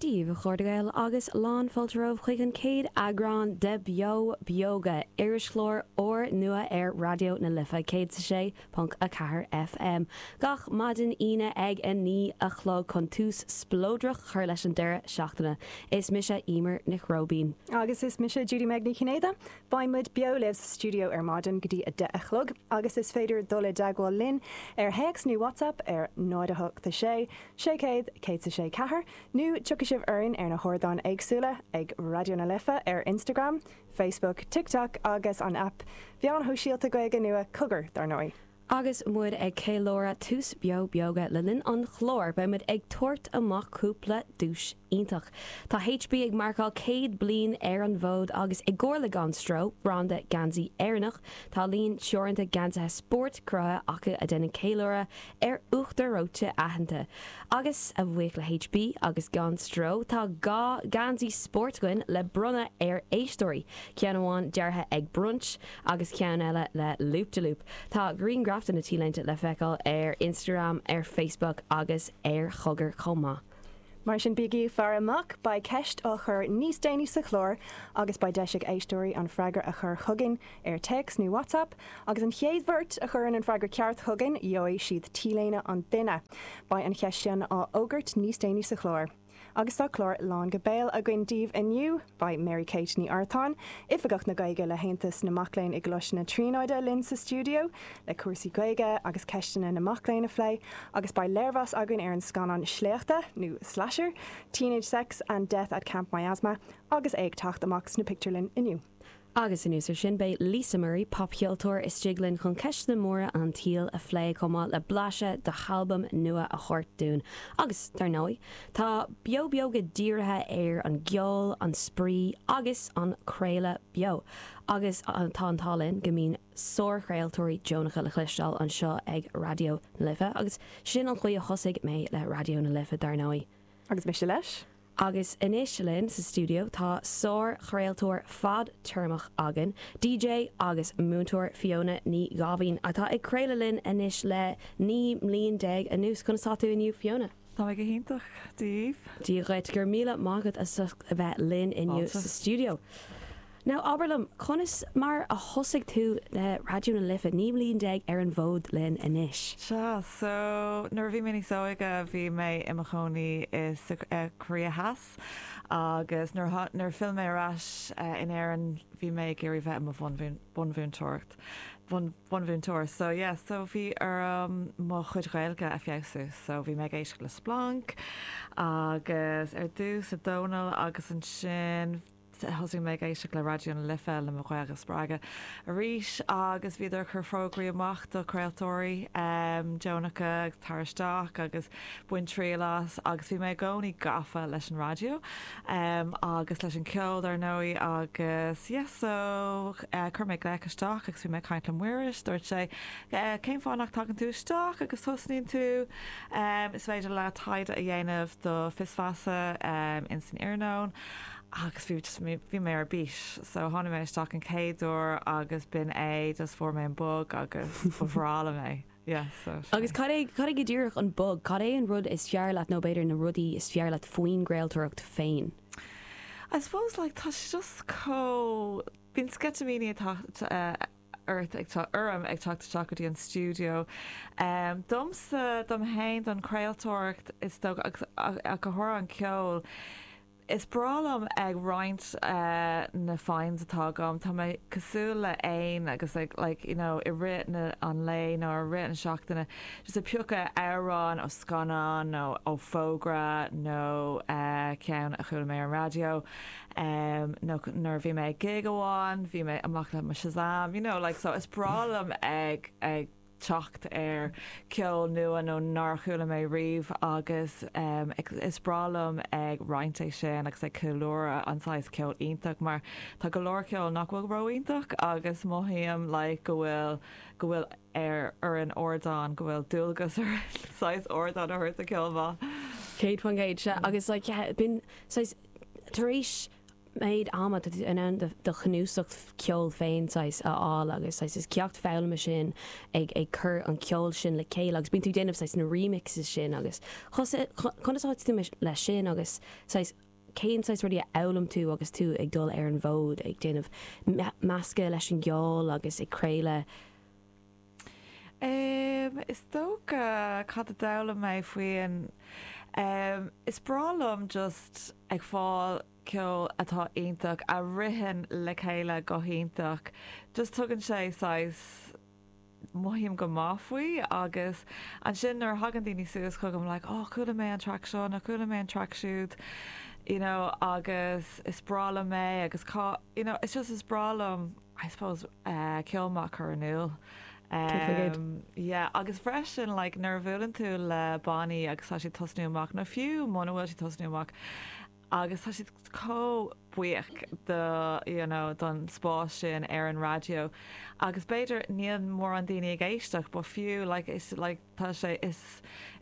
Dia daoibh, a chairde Gael, agus lán fáilte romhaibh chuig an chéad eagrán de Beo Beoga, irischlár úrnua ar Raidió na Life 106.4 FM, gach maidin Aoine ag 9 a chlog chun tús spleodrach a chur leis an deireadh seachtaine. Is mise Emer Nic Róibín. Agus is mise Judy Meg Ní Chinnéide. Beidh muid beo libh sa stiúideo ar maidin go dtí 10 a chlog agus is féidir dul i dteagmháil linn ar théacs nó WhatsApp ar 0 8 6 600 106 4 nó tiocfaidh sibh orainn ar na hardáin éagsúla ag Raidió na Life ar Instagram, Facebook, TikTok agus an aip mheáin shóisialta Gaeilge nua Cogar, dar ndóigh. Agus muid ag ceiliúradh tús Beo Beoga le linn an chláir, beidh muid ag tabhairt amach cúpla duais iontach. Tá HB ag marcáil 100 bliain ar an bhfód agus i gcomhar le Gan Stró, branda geansaí Éireannach, tá líon teoranta geansaithe spóirt cruthaithe acu a dhéanann ceiliúradh ar uachtar reoite aitheanta. Agus a bhuíoch le HB agus Gan Stró, tá 2 gheansaí spóirt againn le bronnadh ar éisteoirí, ceann amháin deartha ag Brunch agus ceann eile le Loop de Loop. Tá grianghraif de na T-léinte le feiceáil ar Instagram, ar Facebook agus ar Chogar chomh maith. Mar sin bígí ag faire amach, beidh ceist á chur níos déanaí sa chlár agus beidh deis ag éisteoirí an freagra a chur chugainn ar téacs nó WhatsApp agus an chéad bheirt a chuireann an freagra ceart chugainn gheobhaidh siad T-léine an duine. Beidh an cheist sin á fhógairt níos déanaí sa chlár. Agus tá clár lán go béal againn daoibh inniu. Beidh Mary Kate Ní Artáin, Oifigeach na Gaeilge le hAontas na Mac Léinn i gColáiste na Tríonóide linn sa stiúideo le cúrsaí Gaeilge agus ceisteanna na mac léinn a phlé agus beidh léirmheas againn ar an scannán sléachta, nó slasher, Teenage Sex and Death at Camp Miasma agus é ag teacht amach sna pictiúrlanna inniu. Agus anuas air sin, beidh Lisa Murray, popcheoltóir, istigh linn chun ceisteanna móra an tsaoil a phlé, chomh maith le blaiseadh dá halbam nua a thabhairt dúinn. Agus, dar ndóigh, tá Beo Beoga dírithe ar an gceol, an spraoi agus an craoladh beo. Agus tá an t-ádh linn go mbíonn sárchraoltóirí deonacha le cloisteáil anseo ag Raidió na Life, agus sin an chaoi a thosaigh mé le Raidió na Life, dar ndóigh. Agus mise leis. Agus anois linn sa stiúideo tá sár-chraoltóir fadtéarmach againn, DJ agus múinteoir Fiona Ní Dháimhín, atá ag craoladh linn anois le 19 mbliain anuas. Conas tá tú inniu Fiona? Tá mé go hiontach, Dia dhaoibh. Dia dhuit, go raibh míle maith agat as ucht a bheith linn inniu sa stiúideo. Now, abair liom, conas mar a thosaigh tú le Raidió na Life, 19 mbliain ar an bhfód linn anois? Sea, so nuair a bhí mé níos óige bhí mé i mo chónaí i sa Korea Theas agus nuair a nuair a phill mé ar ais in Éirinn bhí mé ag iarraidh bheith i mo bhunmhúinteoireacht, bunmhúinteoir. So yeah, so bhí orm mo chuid Ghaeilge a feabhsú so bhí mé ag éisteacht le Splanc agus ar dtús le Dónall agus ansin Thosaigh mé ag éisteacht le Raidió na Life le mo Ghaeilge a spreagadh arís agus bhíodar ag cur fógraí amach do chraoltóirí deonacha tar isteach agus bain triail as agus bhí mé i gcónaí gafa leis an raidió agus leis an ceol dar ndóigh agus yeah so chuir mé glaoch isteach agus bhí mé ag caint le Muiris, dúirt sé cén fáth nach dtagann tú isteach agus tosnaíonn tú is féidir leat taighde a dhéanamh do Fios Feasa ins an iarnóin. Agus bhí just bhí mé ar bís so tháinig mé isteach an chéad uair agus b'in é just fuair mé an bug agus ba bhreá liom é yeah so sin Agus cad é cad é go díreach an bug? Cad é an rud is fearr leat nó b'fhéidir na rudaí is fearr leat faoin gcraoltóireacht féin? I suppose like tá sé just chomh bíonn sceitimíní ag teacht ort ag orm ag teacht isteach go dtí an stiúideo. Domsa, dom fhéin, don chraoltóireacht is dócha agus ach go háirithe an ceol, is breá liom ag roinnt na finds atá agam. Tá mé cosúil le éan agus ag like you know i rith na an lae nó i rith na seachtaine just ag piocadh amhrán ó scannán nó ó fógra nó ceann a chuala mé ar an raidió. nó nuair a bhí mé ag gig amháin, bhí mé amach le mo Shazam, you know, like, so is breá liom ag, ag teacht ar ceol nua nó nár chuala mé riamh agus is breá liom ag roinnt é sin agus ag ceiliúradh an saghas ceol iontach mar tá go leor ceol nach bhfuil ró-iontach agus mothaím like go bhfuil, go bhfuil ar orainn ardán, go bhfuil dualgas orainn saghas ardán a thabhairt do ceol maith. 100%, sea, agus like yeah, bíonn saghas, Tar éis. méid ama tá tú in ann do chnuasach ceoil féin saghas a fháil agus saghas is ceacht foghlama sin ag ag cur an ceol sin le chéile agus bíonn tú ag déanamh saghas na remixes sin agus conas atá tú leis sin agus saghas cén saghas rudaí a fhoghlaim tú agus tú ag dul ar an bhfód ag déanamh meascadh leis an gceol agus ag craoladh? Is dócha cad a d'fhoghlaim mé faoin is breá liom just ag fáil ceol atá iontach, a ritheann le chéile go hiontach. Just tugann sé saghas, mothaím go maith faoi agus ansin nuair a thagann daoine suas chugam like oh chuala mé an track seo nó chuala mé an track siúd you know agus is breá liom é agus cá you know it's just is breá liom I suppose ceol maith a chur in iúl. Yeah agus freisin like nuair a bhuaileann tú le bannaí agus tá siad tosnú amach nó fiú muna bhfuil siad tosnú amach agus tá siad chomh buíoch do you know don spás sin ar an raidió agus b'fhéidir níl mórán daoine ag éisteacht but fiú like is like tá sé is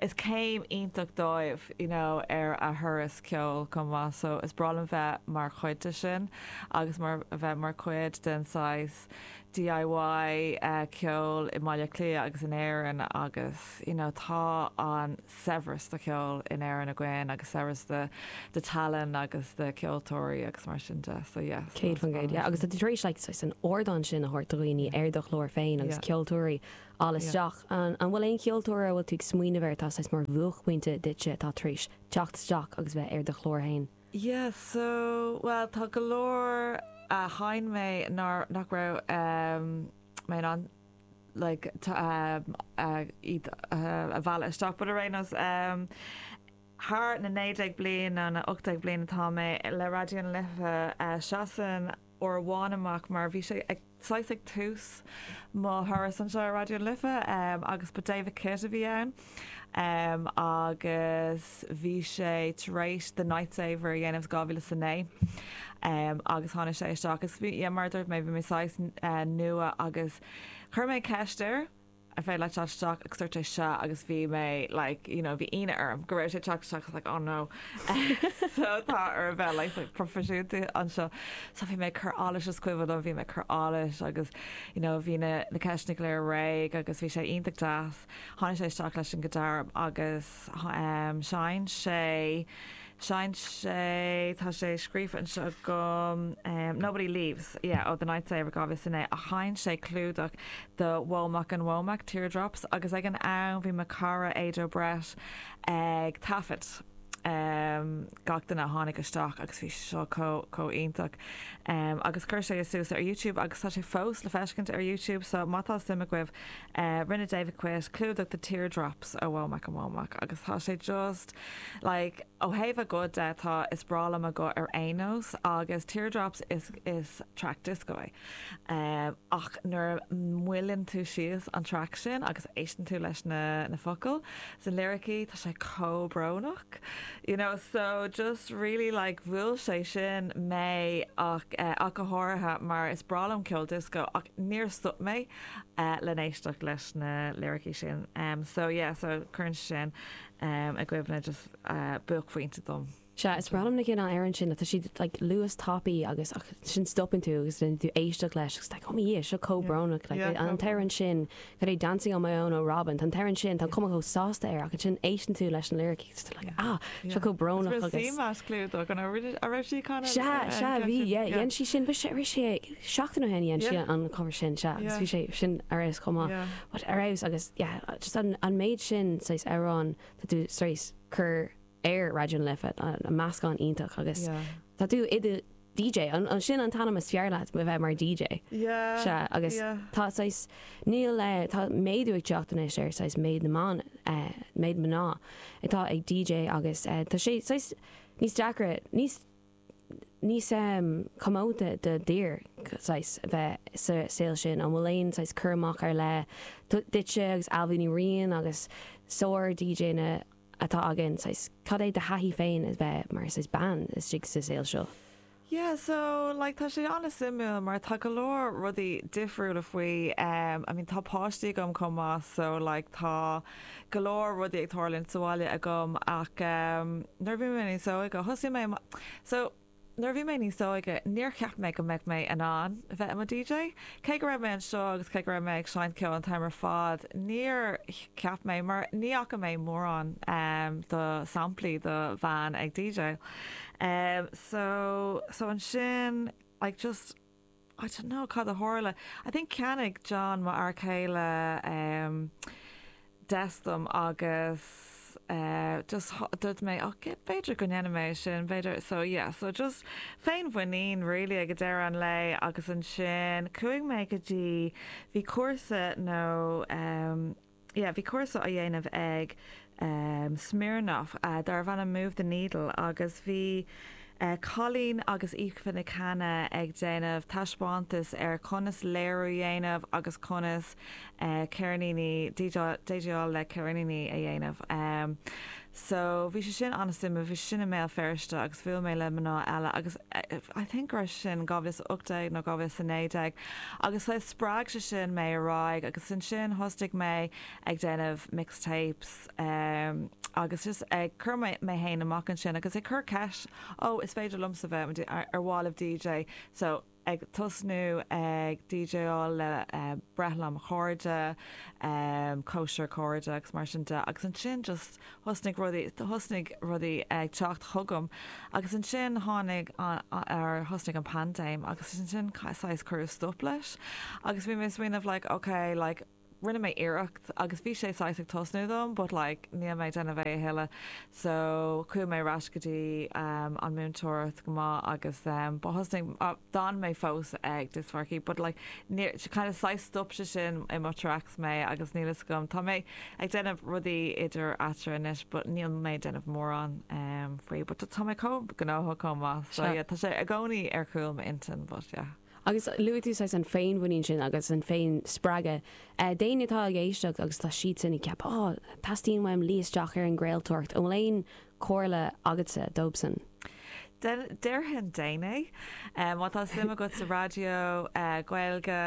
is céim iontach dóibh you know ar a thuras ceoil chomh maith so is breá liom bheith mar chuid de sin agus mar bheith mar chuid den saghas DIY ceoil i mBaile Átha Cliath agus in Éirinn agus you know tá an saibhreas de cheol in Éirinn againn agus saibhreas de de tallann agus de cheoltóirí agus mar sin de so yeah. 100% yeah agus tá tú tar éis like saghas an ardán sin a thabhairt do dhaoine ar do chlár féin agus ceoltóirí a fháil isteach. An bhfuil aon cheoltóir a bhfuil tú ag smaoineamh air atá saghas mar bhuaicphointe duitse atá tar éis teacht isteach agus bheith ar do chlár féin? Yeah so well tá go leor a sheinn mé nár nach raibh mé in ann like iad a mhealladh isteach but ar aon nós thar na 19 bliain nó na 18 bliain atá mé le Raidió na Life seasann uair amháin amach mar bhí sé ag saghas ag tús mo thuras anseo ar Raidió na Life agus ba David Kitt a bhí ann agus bhí sé tar éis The Night Saver a dhéanamh 2009 agus tháinig sé isteach agus bhí yeah mar a dúirt mé bhí mé saghas nua agus chuir mé ceist air an féidir leat teacht isteach agus dúirt sé sea agus bhí mé like you know bhí ionadh orm go raibh sé ag teacht isteach I was like oh no so tá orm bheith like like proifisiúnta anseo so bhí mé ag cur allais is cuimhin liom bhí mé ag cur allais agus you know bhí na na ceisteanna go léir réidh agus bhí sé iontach deas tháinig sé isteach leis an guitar agus um sheinn sé Sheinn sé, tá sé scríofa anseo agam, Nobody Leaves, yeah, ó The Night Saver 2009, ach sheinn sé clúdach do Womack and Womack, Teardrops, agus ag an am bhí mo chara Ado Brett ag taifead gach duine a tháinig isteach agus bhí sé seo chomh, chomh iontach. Agus chuir sé suas ar YouTube agus tá sé fós le feiscint ar YouTube so má tá suim agaibh, rinne David Quitt clúdach do Teardrops ó Womack and Womack agus tá sé just, Like, ó thaobh a guth de, tá, is breá liom a guth ar aon nós agus Teardrops is, is track disco é. Ach nuair a mhoilleann tú síos an track sin agus éisteann tú leis na, na focail, is na liricí, tá sé chomh brónach. You know, so just really like bhuail sé sin mé ach, ach go háirithe mar is breá liom ceol disco ach níor stop mé le n-éisteacht leis na liricí sin. So yeah, so cuireann sé sin. i gcuimhne just buaicphointe dom. Sea, is breá liom na cineál amhrán sin, tá siad like luas tapaidh agus ach ansin stopann tú agus déanann tú éisteacht leis agus like oh mo Dhia, seo chomh brónach like an t-amhrán sin, cad é Dancing on my own ó Robyn, tá an t-amhrán sin, tá an cuma chomh sásta air ach ansin éisteann tú leis na liricí agus tá like ah, seo chomh brónach agus. Is raibh CMAT clúdach an raibh sí kind of Sea, sea, bhí, yeah, dhein sí sin, bhí sé, bhí sé seachtain ó shin dhein sí an cover sin, sea, agus bhí sé sin ar fheabhas chomh maith. But ar fheabhas agus yeah just an an méid sin saghas amhrán tá tú tar éis cur ar Raidió na Life an meascán iontach agus Yeah. tá tú i do DJ an an sin an t-ainm is fearr leat bheith mar DJ. Yeah. Sea agus yeah. tá saghas níl eh, tá méadú ag teacht anois ar saghas méid na mban eh, méid mná atá ag DJ agus eh, tá sé saghas níos deacra níos níos comónta do d'fhir saghas bheith sa saol sin? An bhfuil aon saghas cur amach ar leith duitse agus Ailbhe Ní Riain agus sár DJanna atá againn, saghas cad é do thaithí féin a bheith mar saghas bean istigh sa saol seo? Yeah, so like tá sé an-suimiúil mar tá go leor rudaí difriúla faoi, I mean tá páistí agam chomh maith so like tá go leor rudaí ag tarlúint sa bhaile agam ach nuair a bhí mé níos óige thosaigh mé so. Nuair a bhí mé níos óige, níor cheap mé go mbeadh mé in ann bheith i mo DJ. Cé go raibh mé anseo agus cé go raibh mé ag seinnt ceoil an t-am ar fad, níor cheap mé, mar ní fhaca mé mórán do samplaí do bhean ag DJ. So, so ansin, like just, I don't know cad a tharla. I think cheannaigh John, mo fhear céile, desk dom agus just dúirt mé oh b'fhéidir go ndéanfaidh mé é sin, b'fhéidir, so yeah, so just féinmhuinín really ag deireadh an lae agus ansin chuaigh mé go dtí, bhí cúrsa nó yeah bhí cúrsa á dhéanamh ag Smirnoff darbh ainm Move the Needle agus bhí Colleen agus Aoife Nic Cana ag déanamh taispeántas ar conas léiriú a dhéanamh agus conas ceirníní, DJáil le ceirníní a dhéanamh. So bhí sé sin an-suimiúil, bhí sé sin i mBéal Feirste agus bhuail mé le mná eile agus I think go raibh sé sin 2018 nó 2019 agus spreag sé sin mé ar aghaidh agus ansin thosnaigh mé ag déanamh mixtapes agus just ag cur mé féin amach ansin agus ag cur ceist, oh is féidir liomsa bheith ar mhaith libh DJ so ag tosnú ag DJáil le breithlá mo chairde, cóisir cairde agus mar sin de agus ansin just thosnaigh rudaí, thosnaigh rudaí ag teacht chugam agus ansin tháinig an, ar thosnaigh an paindéim agus ansin saghas cuireadh stop leis agus bhí mé ag smaoineamh like ok like rinne mé iarracht agus bhí sé saghas ag tosnú dom but like níl mé ag déanamh é a thuilleadh so chuaigh mé ar ais go dtí um an múinteoireacht go maith agus um but thosnaigh d'fhan mé fós ag dioscmharcaí but like níor kind of saghas stop sé sin i mo tracks mé agus níl fhios agam tá mé ag déanamh rudaí idir eatarthu anois but níl mé ag déanamh mórán um faoi but tá mé chomh gnóthach chomh maith so yeah tá sé i gcónaí ar chúl m'intinn but yeah. Agus luaigh tú saghas an féinmhuinín sin agus an féin-spreagadh. D'éinne atá ag éisteacht agus tá siadsan ag ceapadh, oh, teastaíonn uaim luí isteach ar an gcraoltóireacht, an bhfuil aon chomhairle agatsa dóibhsan? Déarfainn déan é. Má tá suim agat sa raidió, Gaeilge,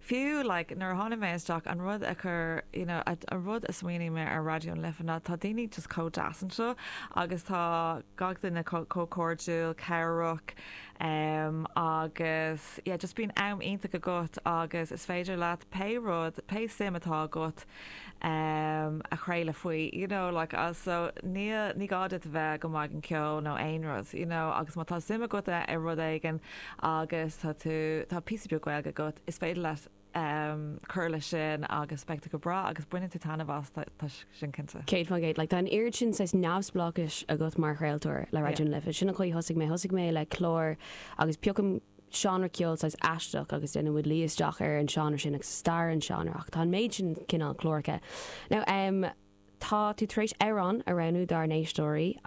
fiú like nuair a tháinig mé isteach an rud a chuir, you know, an rud a smaoinigh mé ar Raidió na Life ná tá daoine just chomh deas anseo agus tá gach duine chomh cairdiúil, cabhrach. Agus yeah just bíonn am iontach agat agus is féidir leat pé rud, pé suim atá agat a chraoladh faoi, you know, like so níl, ní gá duit a bheith go maith ag an ceol nó aon rud, you know, agus má tá suim agat i rud éigin agus tá tú, tá píosa beag Gaeilge agat, is féidir leat cur leis sin agus beidh tú go breá agus bainfidh tú taitneamh as, tá sin cinnte. 100%. Like, tá an oiread sin saghas neamhspleáchais agat mar chraoltóir le Raidió na Life. Sin an chaoi a thosaigh mé. Thosaigh mé le clár agus piocaim seánra ceoil saghas aisteach agus déanann muid luí isteach ar an seánra sin agus stair an seánra ach tá an méid sin cineál cláracha. Now, um, tá tú tar éis amhrán a roghnú dár n-éisteoirí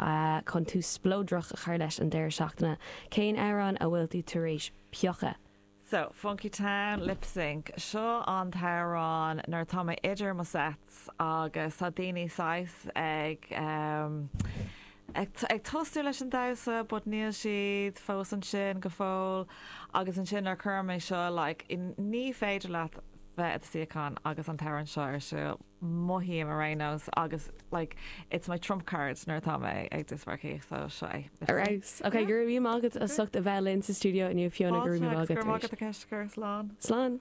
chun tús spleodrach a chur leis an deireadh seachtaine. Cén amhrán a bhfuil tú tar éis piocadh? So, Funky Town, Lip Sync. Seo an t-amhrán nuair atá mé idir mo sets agus tá daoine saghas ag ehm ag ag tosnú leis an damhsa but níl siad fós ansin go fóill agus ansin nuair a chuirim é seo like ní féidir leat bheith i do suíochán agus an t-amhrán seo ar siúl. mothaím ar aon nós agus like it's my trump card nuair atá mé ag dioscmharcaíocht so seo é. Ar fheabhas. Ok, go raibh míle maith agat as ucht a bheith linn sa stiúideo inniu Fiona, go raibh míle maith agat Go raibh maith agat a cheist, slán. Slán.